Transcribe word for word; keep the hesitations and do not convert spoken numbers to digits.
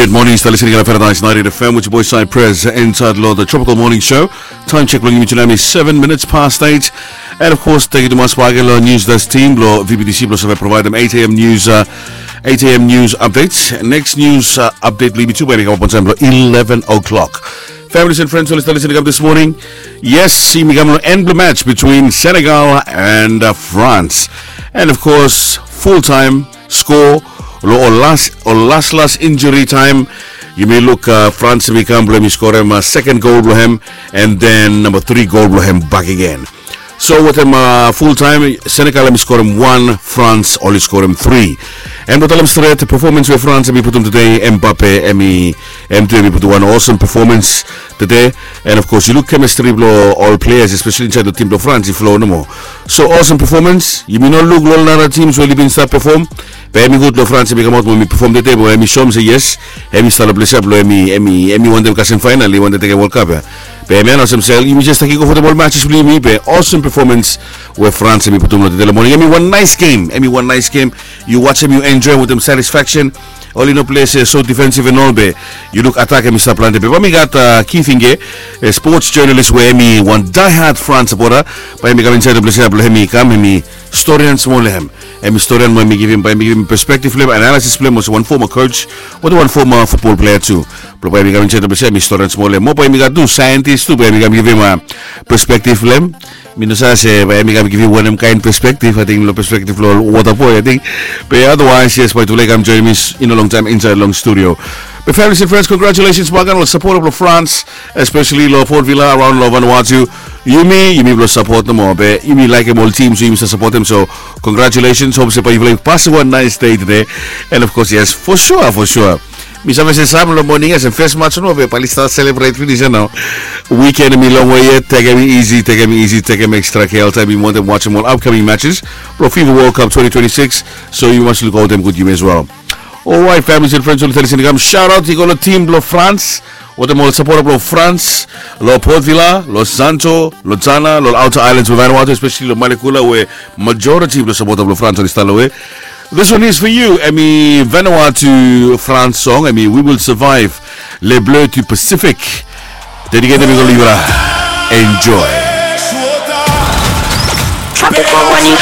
Good morning, stap listening on Paradise ninety-eight F M with your boy Cypress inside lo the Tropical Morning Show. Time check blong yumi tu nao hemi seven minutes past eight. And of course, thank you to Mas Wagelo, news desk team lo V B T C blo save provide them eight a.m. news, uh, eight a.m. news updates. Next news uh, update blong yumi tu bae hemi kamap on time lo eleven o'clock. Families and friends, oli stap listening up this morning. Yes, yumi kam lo end blo match between Senegal and uh, France. And of course, full time score lo ol las ol las las injury time. Yumi luk uh, France hemi kam blo hemi skorem uh, second goal blo hem, and then number three goal blo hem back again. So wetem uh, full time, Senegal hemi skorem wan, France oli skorem three. And blo talem stret, performance we France hemi putum tede, Mbappe hemi, hem tu hemi putum wan awesome performance tede. And of course, yu luk chemistry blo ol players, especially inside the team blo France, i flow nomo. So awesome performance. Yumi no luk lo ol nara teams we oli bin stap perform, be hemi gud lo France hemi kamaot mo hemi perform tede, be hemi soem se yes, hemi stap lo ples ia blo hemi, hemi, hemi wantem kasem final, i wantem tekem World Cup ia. Be hemia nao olsem se yumi jes taki go fotem ol matches blo yumi, be awesome performance we France hemi putum lo tede lo moning. Hemi wan nice game, hemi wan nice game. Yu wajem, yu enjoy wetem satisfaction. Oli no play se so defensive and all, be yu luk attack hemi stap plante. Be bae mi gat uh, Keith Inge, a sports journalist we hemi wan die-hard France supporter. Bae hemi kam inside lo ples ia blo hemi kam hemi storian smol lo hem. Hemi storian mo hemi givim, bae hemi givim perspective blo hem, analysis blo hem, olsem wan former coach wetem wan former football player tu. Blo bae hemi kam inside lo ples ia, hemi storian smol lo hem. Mo bae hemi gat tu scientist tu, bae hemi kam givim uh, perspective blo hem. Mi no save se bae hemi kam givim wanem kaen perspective, ating lo perspective lo water boy, ating. Be otherwise, yes, bae tufala i kam join mi, i no longtaem inside long studio. Be families and friends, congratulations bagen lo supporter blo France, especially lo Port Vila, around lo Vanuatu. Yumi, yumi blo support nomo, be yumi laekem ol teams we yumi stap supportem, so congratulations, hope se bae yufala i pasem wan nice day tede. And of course, yes, for sure, for sure. Mi save se sam lo moning ia, olsem first match nomo, be bae oli stap celebrate finis ia nao. Weekend hemi longwe yet, tekem easy, tekem easy, tekem extra care oltaem. Yumi wantem wajem ol upcoming matches blo FIFA World Cup twenty twenty-six. So yumi mas luk aotem gud yumi as well. Alright, families and friends, oli stap listening, kam shout out i go lo team blo France wetem ol supporter blo France lo Port Vila, lo Santo, lo Tsana, lo outer islands we Vanuatu, especially lo Malekula we majority blo supporter blo France oli stap lo we. This one is for you. Hemi Vanuatu France song, hemi We Will Survive, Les Bleus du Pacific. Dedicated hemi go lo yufala. Enjoy. Tropical Morning